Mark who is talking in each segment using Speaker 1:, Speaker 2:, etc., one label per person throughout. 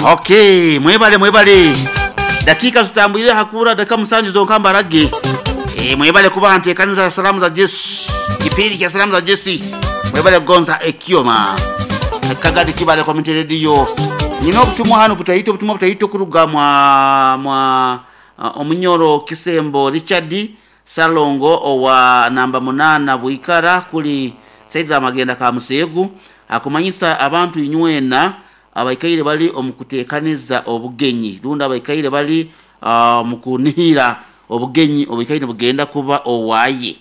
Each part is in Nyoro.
Speaker 1: Okay, mwebale mwebale. Dakika zitambwire hakura dakika musanju zonka mbarage. E, mwebale kuba ntekaniza salamu za Yesu. Kipindi cha salamu za Yesu. Mwebale kugonza ekioma. Kagadi kibale kwa radio. Nina obutumwa hano butayito obutumwa butayito kuruga mwa mwa omunyoro Kisembo Richard Salongo owa namba 8 Buikara kuli saiza amagenda ka Musegu akumanyisa abantu inywena abaikaire bali omukutekaniza obugenyi runda abaikaire bali mukunihira obugenyi obuikaire bugenda kuba owaye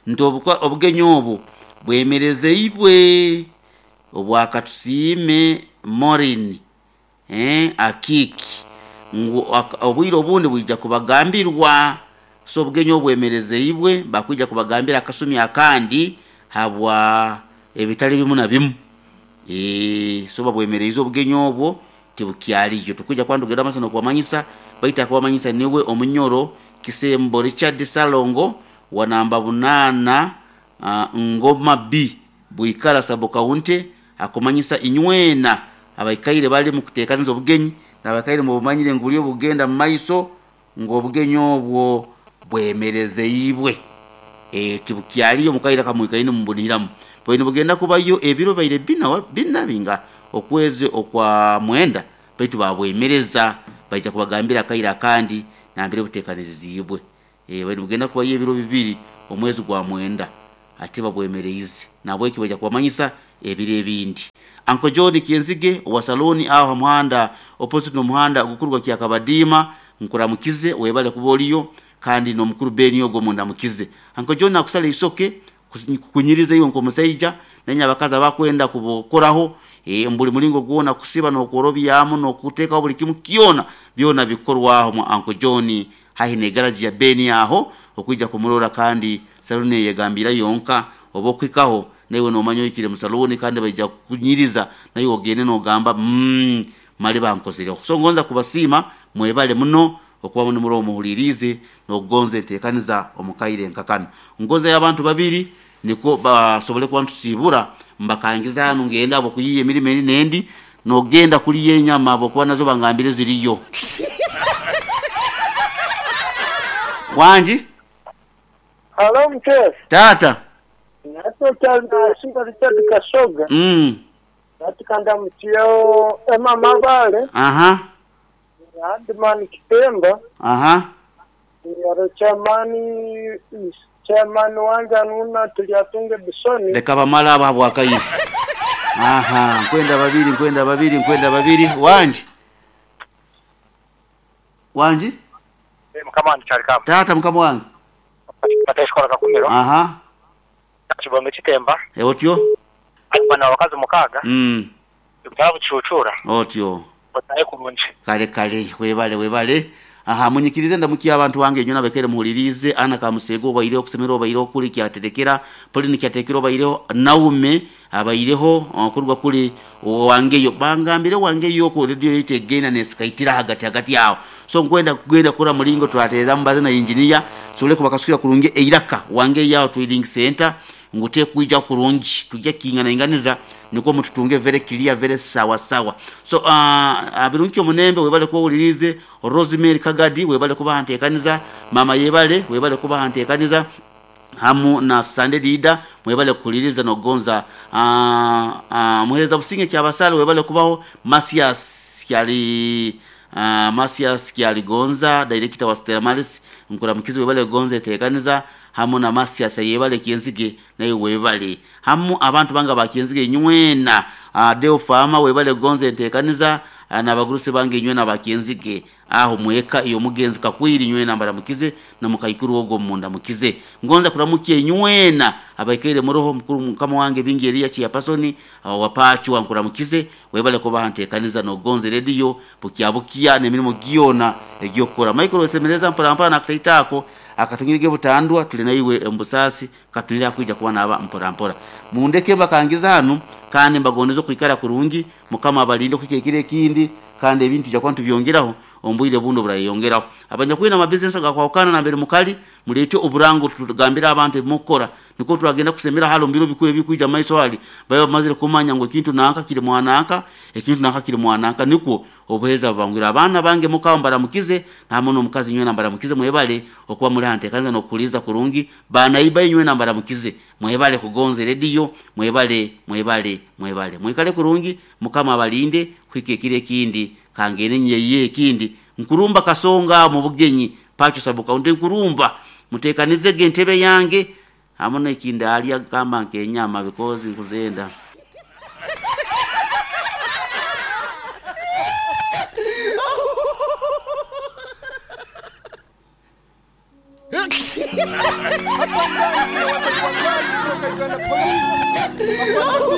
Speaker 1: nti obugenyi obu bwemerezeibwe obwakatusiime Morin akiki ngu obwire obundi bwija kubagambirwa. So obugenyi obwemerezeibwe bakwija kubagambira akasumi akandi habwa ebitali bimu na bimu. So babwemereize obugenyi obwo tibukyaliyo tukuja kwandugera amasono kubamanyisa baita kubamanyisa niwe omunyoro Kisembo Richard Salongo wa namba 8 Ngoma B Buikara Sabo County akumanyisa inywena abaikaire bali mu kutekaniza obugenyi n'abakaire mu bumanyire nguli obugenda mu maiso ngo obugenyi obwo bwemerezeibwe tibukyaliyo mukaire kamwikaine mubuniramu bwine bugenda kubayo ebiro baire bina bina binga okwezi okwa mwenda baitu babwemereza baija kubagambira kaira kandi nambire butekaniriziibwe bwine bugenda kubayo ebiro bibiri omwezi gwa mwenda ate babwemereize nabwo kibaja kubamanyisa ebiro ebindi. Uncle John Kienzige wa saloni aho muhanda opposite no muhanda gukurwa kya Kabadima nkuramukize webale kuboliyo kandi no mukuru Beni ogo mundamukize. Uncle John akusala isoke kunyiriza iyo nkomusaija nenya abakaza bakwenda kubokoraho mbuli mulingo guona kusiba no kuorobyamu no kuteka buli kimu kiona byona bikorwaho mu Uncle John hahi ne garage ya Beni aho okuija kumurora kandi saloni yegambira yonka obokwikaho newe nomanyo ikire mu saloni kandi baija kunyiriza nayo ogende no gamba mali bankozire. So ngonza kubasima mwebale muno okuba muno muri omuhulirize nogonze ntekaniza omukaire nkakano ngonza y'abantu babiri niko basobole kuba ntusibura mbakangiza hano ngenda abo kuyiye emirimo eri nendi nogenda kuliye enyama abo kuba nazo bangambire ziriyo. Wanji?
Speaker 2: Halo mchef.
Speaker 1: Tata.
Speaker 2: Nato chana Simba Richard Kasoga. Natikanda mtio Emma Mabale.
Speaker 1: Aha.
Speaker 2: Adman Kitemba.
Speaker 1: Aha.
Speaker 2: Yaro chamani chairman wanja nuna tuliatunge Bisoni.
Speaker 1: Leka bamala abo bwakayi. Aha, nkwenda babiri, nkwenda babiri, nkwenda babiri. Wanji. Wanji?
Speaker 3: Mukama wange kyali kama.
Speaker 1: Tata mukama wange.
Speaker 3: Batashikola kakumiro.
Speaker 1: Aha.
Speaker 3: Kibombe kitemba.
Speaker 1: Otyo.
Speaker 3: Bana wakazi mukaga. Bitaba bucucura.
Speaker 1: Otyo.
Speaker 3: Bataye kurungi.
Speaker 1: Kale kale webale webale. Aha, munyikirize ndamukiya abantu wange nyona bekere muhulirize ana kamusego obaire okusemero obaire okuli kyaterekera Pauline kyaterekera obaire Naume abaireho kurwa kuli wangeyo bangambire wangeyo ku radio itegena nesikaitira hagati hagati yao. So nkwenda kugenda kura mulingo twatereza mbaze na engineer sole kubakasukira kurungi eiraka wange yao trading center ngute kuija kurungi tujya kingana inganiza niko mututunge very clear very sawa sawa. So abirunki omunembe webale kuwulirize Rosemary Kagadi webale kuba ntekaniza mama yebale webale kuba ntekaniza hamu na Sunday leader mwebale kuliriza no gonza muhereza businge kya basale webale kubaho Masias kyali Masias kyali gonza director wa Stella Maris nkuramukizi webale gonza etekaniza hamu na Masias yebale Kienzige naye webale hamu abantu banga ba Kienzige nywena Deo Fama webale gonza entekaniza na bagurusi bange nywena ba Kienzige aho mweka iyo mugenzi kakwiri nywena mbaramukize na mukaikuru ogo munda mukize ngonza kuramukiye nywena abaikaire muroho mukuru mukama wange bingi Elia chia pasoni wapachu wankuramukize webale kuba ntekaniza no gonze radio bukiabukia nemirimo giona egyokora Michael semereza mpora mpora nakutaitako akatungirige butandwa tuli naiwe embusasi katunira kuija kuba naba mpora mpora mundeke bakangiza hano kandi mbagoneza kuikara kurungi mukama abalinde kukekire kindi. Kandi ebintu tujja kuba nitubyongeraho omu bwire bundi oburayeyongeraho. Abanyakwine amabizinesi agakwahukana nambere mukali, muleete oburango tugambire abantu ebimukukora, nikwo turagenda kusemera hali omu biro bikuru ebikwija mu maiso hali, babe bamazire kumanya ngu ekintu nanka kiri mwananka, ekintu nanka kiri mwananka, nikwo obuheereza bubangwire. Abaana bange mukaho mbaramukize, nahamwe n'omukazi nywena mbaramukize, mwebale okuba muli ha nteekaniza n'okuhuliiriza kurungi. Banaiba inywena mbaramukize, mwebale kugonza rediyo, mwebale, mwebale, mwebale. Mwikale kurungi, Mukama abalinde kuhika ekiro ekindi, kangende nyeyiye ekindi. Nkurumba Kasonga mu bugenyi, Pacho Sub-County nkurumba, muteekanizege entebe yange, hamu n'ekindi alya gamba nk'enyama because nkuzenda.
Speaker 4: Hapa ndani kuna wasanii wakali kutoka Uganda Police.